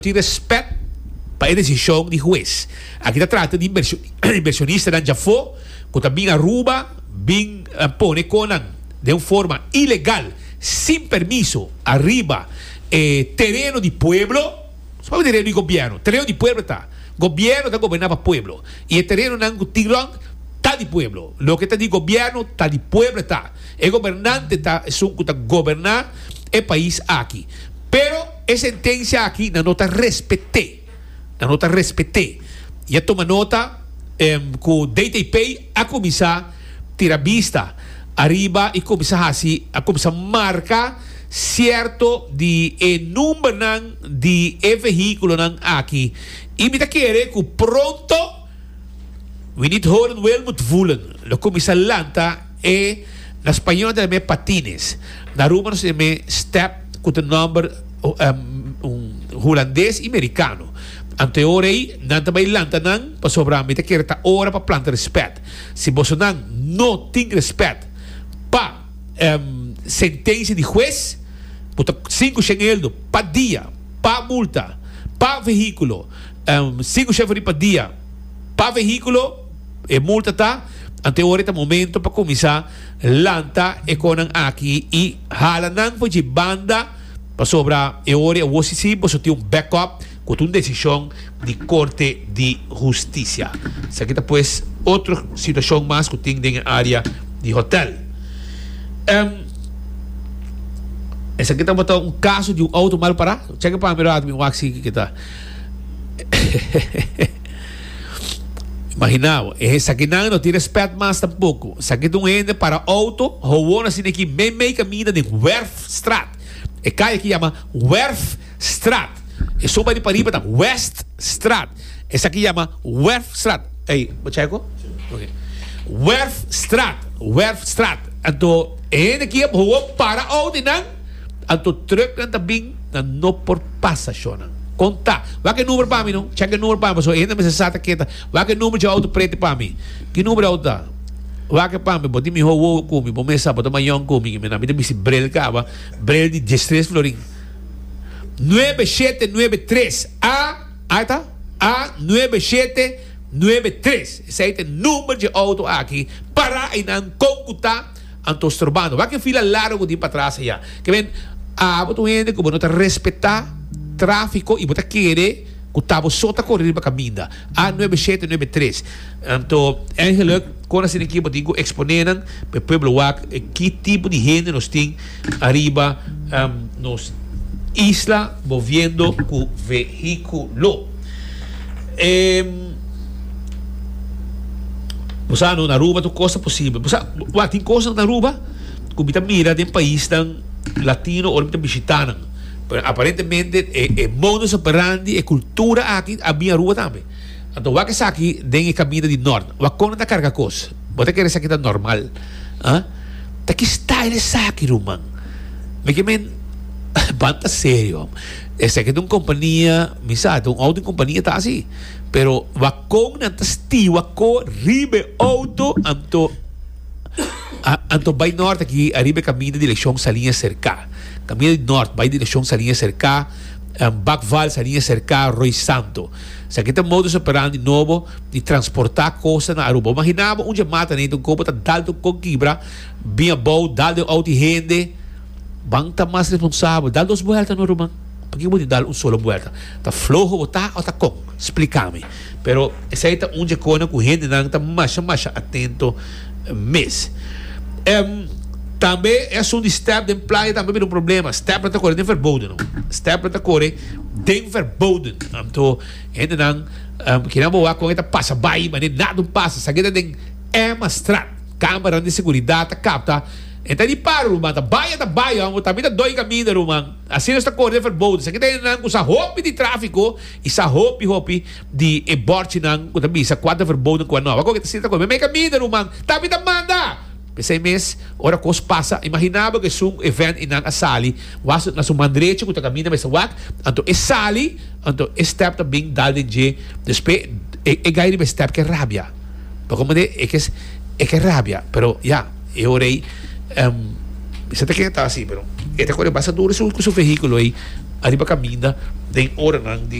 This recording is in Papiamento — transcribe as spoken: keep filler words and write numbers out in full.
Tin respet pa e desishon di hues. Aki ta trata di invershonistanan djafó ku ta bin Aruba bin pone konan den un forma ilegal sin permiso ariba e tereno di pueblo. No papia tereno di gobièrnu, tereno di pueblo ta. Gobièrnu ta goberná pa pueblo i e terenonan ku tin rònt ta di pueblo. Loke ta di gobièrnu ta di pueblo ta. E gobernante ta esun ku ta goberná e pais aki. Pero e sentensia aki nan no ta respet'é. Nan no ta respet'é. I a tuma nota ku D T P a kuminsá tira bista ariba i kuminsá hasi, a kuminsá marka sierto di e numbernan di e vehíkulonan aki. I mi ta kere ku pronto, wie niet horen wil moet voelen, lo kuminsá lanta e, na spañó ta yam'é patines. Na Aruba nos ta yam'é step ku ta nòmber un hulandes i merikano. Anto e ora ei nan ta bai lanta nan pasobra mi ta kere ta ora pa planta respet. Si bosonan no tin respet pa sentensia di hues, bo ta sinku shen eldo pa dia pa multa pa vehíkulo, sinku shen florin pa dia pa vehíkulo e multa ta, anto e ora ei ta momento pa kuminsá lanta e konan aki i hala nan for dje banda pasobra e ora ei awor si si boso tin un backup ku ta un desishon di Korte di Hustisia. Esaki ta pues otro situashon mas ku tin den e área di hotel. Esaki tabata un kaso di un outo mal pará. Cheke pa mi rato mi wak si kiko ta. Imagina bo, esakinan no tin respet mas tampoko. Esaki ta un hende para outo gewoon asina aki meimei kaminda den Werfstraat. E kaya aki yama Werfstraat. E soba di pariba ta Weststraat. Esaki yama Werfstraat. Ey, bo cheko? Ok. Werfstraat, Werfstraat. Anto e hende aki a gewoon para outo einan, anto trucknan ta bin, nan no por pasa shownan. Kon ta? Wak e number pa mi no. Chek e number pa mi pasobra e hende mester sa ta keta. Wak e number dje auto prete pa mi. Ki number e auto ta? Wak e pa mi. Bo tin mihó wowo ku mi. Bo mes sa bo ta mayon ku mi. Mi ta bisti bril kaba. Bril di diestres florin. Nuebe shete nuebe tres A, A ta? A nuebe shete nuebe tres. Esei ta e number dje auto aki. Para einan kon ku ta. Anto strobando. Wak e fila largo ku tin patras aya. Ke men, abo ta un hende ku bo no ta respetá tráfiko i bo ta kere ku ta bo so ta kore riba kaminda. A nuebe shete nuebe tres. Anto, eigenlijk, kon asina aki bo tin ku eksponé nan pa e pueblo wak ki tipo di hende nos tin ariba nos isla moviendo ku vehíkulo. E. Bo sa no, na Aruba tur kos ta posibel. Bo sa, wak, tin kosnan na Aruba ku mi ta mira den paisnan latino ora mi ta bishitá nan. Pero aparentemente e e modus operandi, e kultura aki a bin Aruba tambe. Anto wak esaki den e kaminda di nort. Wak kon nan ta karga kos. Bo ta kere esaki ta normal? Ah? Ta ki style esaki, ruman? Mi ke men, ban ta serio. Esaki ta un kompania, mi sa, ta un outo di kompania ta asi. Pero wakon nan ta stiwa ko riba e outo anto anto bai nort aki ariba e kaminda direkshon Saliña Serka. Kaminda di nort bai direkshon Saliña Serka, Bakval, Saliña Serka, Rooi Santo. Esaki ta modus operandi nobo di transporta kosa na Aruba. Bo imagina bo un dje mata ney un kopo ta dal un kon kibra bin abou dal den outo di hende. Ban ta mas responsabel. Dal dos buelta no ruman. Pakiko bo tin dal un solo buelta? Ta floho bo ta o ta kon? Splika mi. Pero esei ta un dje kona ku hendenan ta masha masha atento mes. Em, tambe e asuntu di step den playa tambe bira un problema. Stepnan ta kore den verboden no. Stepnan ta kore den verboden. Anto hendenan um, kinan bo wak kon e ta pasa bai mane nada un pasa. Esaki ta den Emmastraat. Kameranan di seguridat ta kapta. E ta di paro ruman. Ta bai e ta bai homber. Tambe ta doi kaminda ruman. Asina nos ta kore den verboden. Esaki ta hendenan ku sa hopi di tráfiko i sa hopi hopi di e bòrchinan ku ta bisa kua ta verboden kua no. Awor ku ta sinta kore meimei kaminda ruman tambe ta manda. P'esei mes ora kos pasa imaginá bo ku esun event i nan a sali was na su man drechi ku ta kaminda mester wak anto e sali anto e stèp ta bin dal den dje despues e e gai riba e stèp ke rabia. Bo komprende? E ke e ke rabia pero ya. E ora ei, mi sa ta ken ta asi, pero e ta kore basta duro su ku su vehíkulo ei Ariba caminda den ora di